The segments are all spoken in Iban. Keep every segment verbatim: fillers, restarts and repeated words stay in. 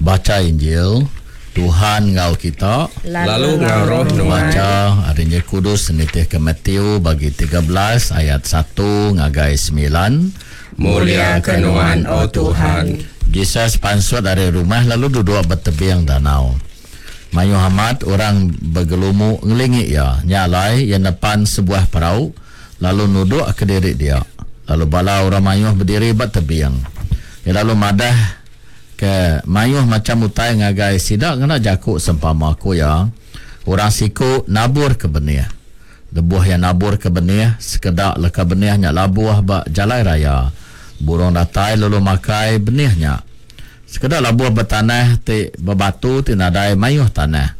Bacha Injil, Tuhan enggau kita. Lalu enggau roh nuan. Bacha ari Injil Kudus nitihka Matthew bagi tiga belas ayat satu ngagai semilan. Mulia ke nuan, O Tuhan. Jesus pansut ari rumah lalu duduk ba tebing danau. Mayuh amat orang begelumu ngelingi iya. Nya alai iya nepan sebuah perau lalu nudukka diri dia. Lalu bala orang mayuh bediri ba tebing. Iya lalu madah ke mayuh macham utai ngagai sida ngena jaku sempama. Ku iya, orang siku nabur ke benih. Lebuh iya nabur ke benih, sekeda leka benih nya labuh ba jalai raya. Burung datai lalu makai benih nya. Sekeda labuh ba tanah ti bebatu ti nadai mayuh tanah.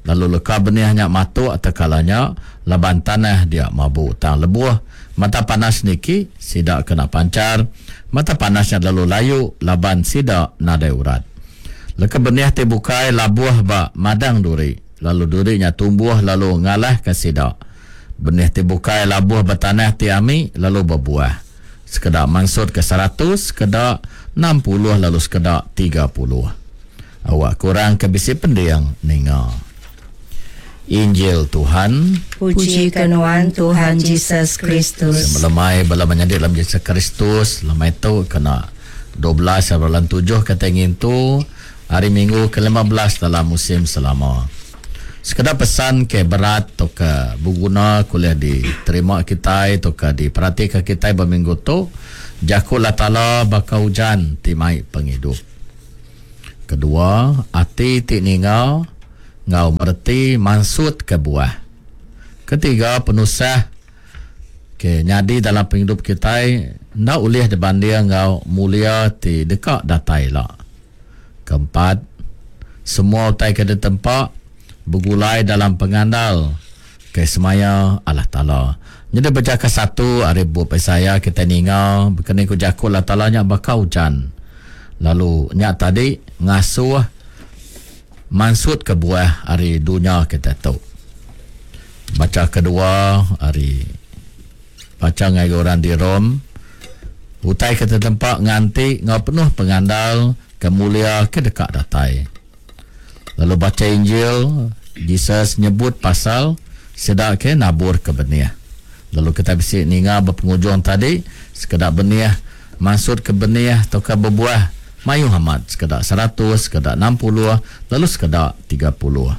Lalu leka benih nya matuk tekala nya laban tanah dia mabu. Tang lebuh mata panas niki, sida kena panchar. Mata panas nya lalu layu laban sida nadai urat. Leka benih ti bukai labuh ba madang duri, lalu duri nya tumbuh lalu ngalahka sida. Benih ti bukai labuh ba tanah ti ami lalu bebuah. Sekeda mansutka seratus, sekeda enam puluh lalu sekeda tiga puluh. Awak kurang ke bisi pending ninga. Injil Tuhan. Puji ke nuan Tuhan Jesus Kristus. Melemai bala menyadi dalam Jesus Kristus. Lemai tu kena dua belas bulan tujuh kata ngintu hari Minggu ke lima belas dalam musim selama. Sekeda pesan ke berat atau ke berguna kuliah diterima kita atau ke diperhatikan kita berminggu tu, jaku Allah Taala baka hujan ti mai penghidup. Kedua, ati ti ninga ngau mereti mansut ke buah. Ketiga, penusah ke nyadi dalam penghidup kita ndak boleh dibanding ngau mulia ti deka datai la. Keempat, semua utai ke ditempa begulai dalam pengandal ke semaya Allah Taala. Jadi baca ke satu hari bup Isaiah kita ninga berkena ku jaku Allah Taala nya baka hujan. Lalu nya tadi ngasuh mansut ke buah hari dunia kita tu. Baca kedua hari baca ngai orang di Rom, utai kita tempat nganti ngau penuh pengandal kemulia ke dekat datai. Lalu baca Injil Jesus nyebut pasal sedak ke nabur ke benih. Lalu kita bisi ninga berpengujung tadi sekedak benih mansut ke benih atau ke berbuah mayuh amat, sekedak seratus, sekedak enam puluh, lalu sekedak tiga puluh.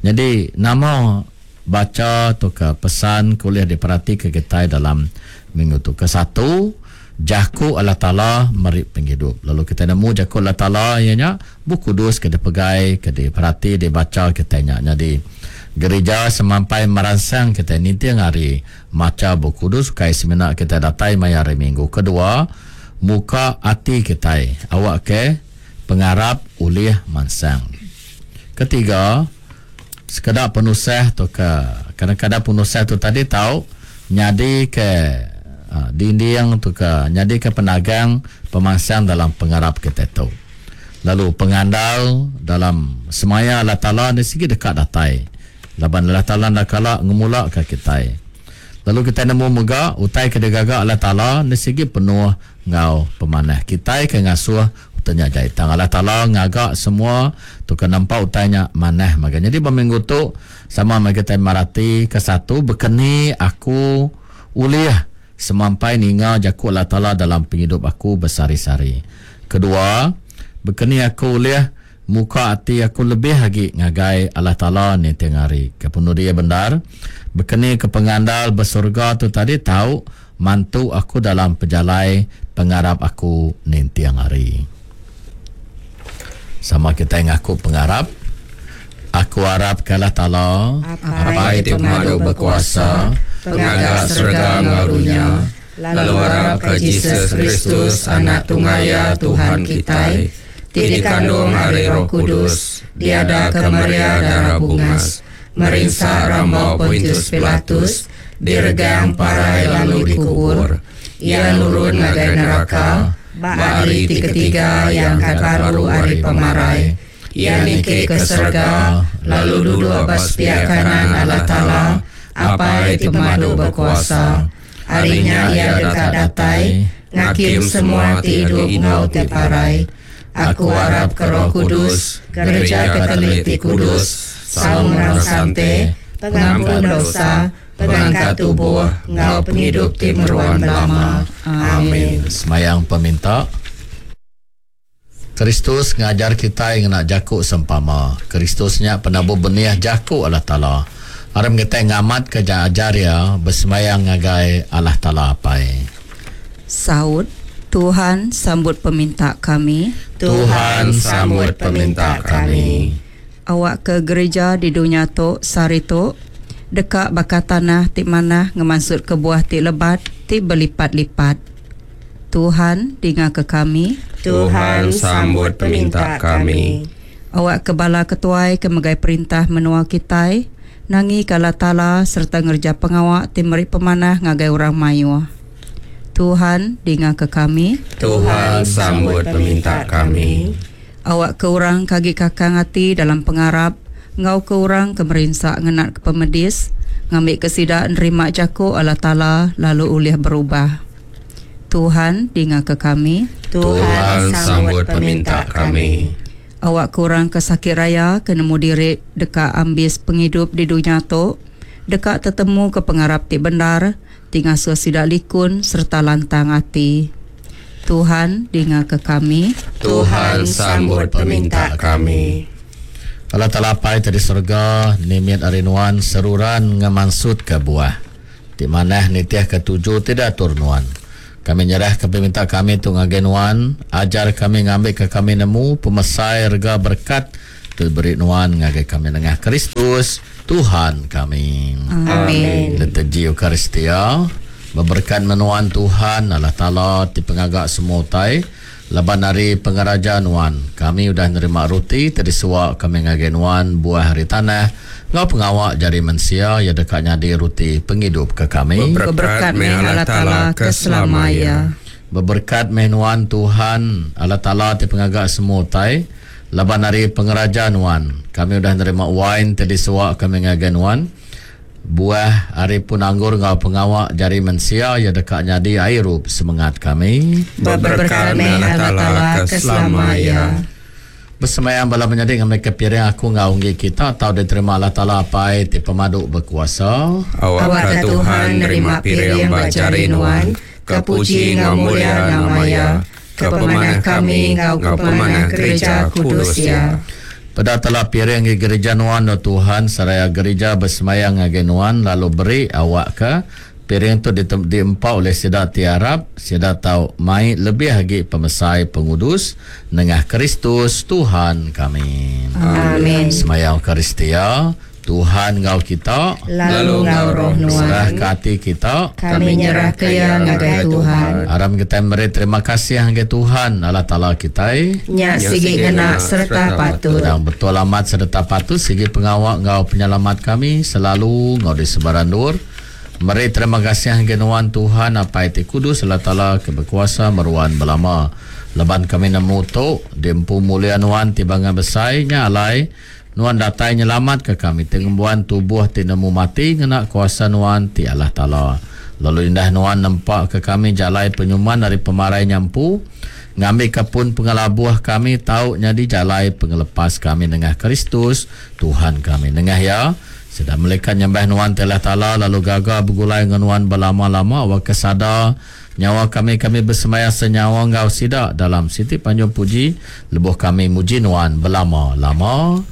Jadi nama baca atau ke pesan kuliah diperhati ke kita dalam minggu tu. Kesatu, jaku Allah Taala meri penghidup. Lalu kita nemu jaku Allah Taala ianya buku kudus ke dipegai, ke diperhati, dibaca kita nya. Jadi gereja semampai merangsang kita ninting hari maca buku kudus kai semina kita datai maya hari minggu. Kedua, muka ati kita awak ke pengarap ulih mansang. Ketiga, sekeda penusah tu ke kadang-kadang penusah tu tadi tau nyadi ke uh, dinding tu ke nyadi ke penagang pemansang dalam pengarap kita tu. Lalu pengandal dalam semaya Allah Taala ni sigi dekat datai. Laban Allah Taala nak kala ngemula ke kita. Lalu kita nemu mega utai ke digaga Allah Taala ni sigi penuh ngau pemanah. Kita ke ngasuh utanya jai. Tang Allah Taala ngaga semua tu ke nampak utanya manah maga. Jadi berminggu tu sama mai kita marati ke satu bekeni aku ulih semampai ninga jaku Allah Taala dalam penghidup aku bersari-sari. Kedua, bekeni aku ulih muka ati aku lebih lagi ngagai Allah Taala ni tiang hari. Kepenuh dia benar, bekeni ke pengandal bersurga tu tadi tahu mantu aku dalam pejalai pengarap aku nintiang hari. Sama kita ngaku pengarap. Aku harap ke Allah Taala, Apai ti pemadu berkuasa, pengaga serga enggau dunia, lalu harap ke Jesus Kristus, anak tungaya Tuhan kita, ti dikandung hari Roh Kudus, diada ke Maria darah bungas, merinsa rambau Pontius Pilatus, diregang parai lalu dikubur, ia nurun ngagai neraka, ba hari ti ketiga yang baru hari pemarai, ia niki ke surga, lalu duduk ba sepiak kanan Allah Taala, Apai ti pemadu berkuasa. Harinya ia dekat datai, ngakim semua ti hidup ngau ti parai. Aku arap ke Roh Kudus, Gereja Katolik ti kudus, saum orang sante, pengampun dosa, pengangkat tubuh, ngau penghidup ti meruan belama. Amin. Semayang peminta. Kristus ngajar kita ngena jaku sempama. Kristusnya penabuh benih jaku Allah Taala. Aram kita ngamat ke ajar ya bersemayang ngagai Allah Taala apai. Saud, Tuhan sambut peminta kami. Tuhan sambut peminta kami. Awak ke gereja di dunia tu sari tu dekat bakal tanah ti manah ngemansut ke buah ti lebat ti berlipat-lipat. Tuhan dengar ke kami. Tuhan sambut peminta kami. Awak ke bala ketuai ke megai perintah menua kitai nangi kala tala serta ngerja pengawak ti meri pemanah ngagai orang mayuh. Tuhan dengar ke kami. Tuhan sambut peminta kami. Awak ke orang kagi kakang hati dalam pengarap ngau ke orang ke merinsak ngenat ke pemedis ngambil ke sida nerima jaku Allah Taala lalu ulih berubah. Tuhan dengar ke kami. Tuhan sambut peminta kami. Awak kurang ke sakit raya ke nemu diri dekat ambis penghidup di dunia tu dekat tetemu ke pengarap ti benar tinggal sidak likun serta lantang hati. Tuhan dengar ke kami. Tuhan sambut peminta kami. Allah Taala Apai di surga nimit arinuan seruran ngemansut ke buah ti manah nitiah ke tuju tidak turnuan. Kami nyerah ke peminta kami tu ngagai nuan, ajar kami ngambil ke kami nemu pemesai rega berkat tu beri nuan ngagai kami nengah Kristus Tuhan kami. Amin. Liturgi Eucharistia berberkat menuan Tuhan Allah Taala ti pengagak semua utai laban hari pengeraja nuan kami udah nerima roti tadi suak kami ngagai nuan buah hari tanah ngau pengawak jari mensia ya dekat nyadi roti penghidup ke kami. Berberkat meh Allah Taala ke selamanya. Berberkat meh nuan Tuhan Allah Taala ti pengagak semua utai laban hari pengeraja nuan kami udah nerima wine tadi suak kami ngagai nuan buah hari pun anggur ngau pengawak jari mensia ya dekat nyadi airup semangat kami. Berberkat meh Allah Taala ke selamanya. Bersemayam bala menyadik ngambil ke piring aku ngau unggi kita atau diterima Allah Taala Apai ti pemadu berkuasa. Awak Tuhan nerima piring bajari nuan ke puji ngau mulia nama ya ke pemanah kami ngau ke pemanah gereja kudus ya. Pada telah piring di gereja nuan no Tuhan seraya gereja bersemayang ngagai nuan lalu beri awak ke piring tu diempau oleh sida tiarap sida tau mai lebih lagi pemesai pengudus nengah Kristus Tuhan kami. Amin. Semayang Eucharistia Tuhan ngau kita lalu ngau roh nuan. Serah ke hati kita kami nyerah ke ya ngagai Tuhan. Aram kita beri terima kasih ngagai Tuhan Allah Taala kita. Nya sigi ngena serta patut. Dan betul amat serta patut sigi pengawak ngau penyelamat kami selalu ngau di sebaran dur. Meri terima kasih ngagai nuan Tuhan Apai ti kudus Allah Taala ke berkuasa meruan belama. Leban kami nemu tu diempu mulia nuan ti bangan besai nya alai nuan datai nyelamat ke kami tengembuan tubuh ti nemu mati ngena kuasa nuan ti Allah Taala. Lalu indah nuan nempak ke kami jalai penyuman dari pemarai nyampu ngambil ke pun pengelabuh kami tau nyadi jalai pengelepas kami nengah Kristus Tuhan kami. Nengah ya sedang melikat nyembah nuan ti Allah Taala lalu gaga bergulai dengan nuan berlama-lama wa kesada nyawa kami kami bersemaya senyawa ngau sida dalam siti panjung puji lebuh kami muji nuan berlama-lama.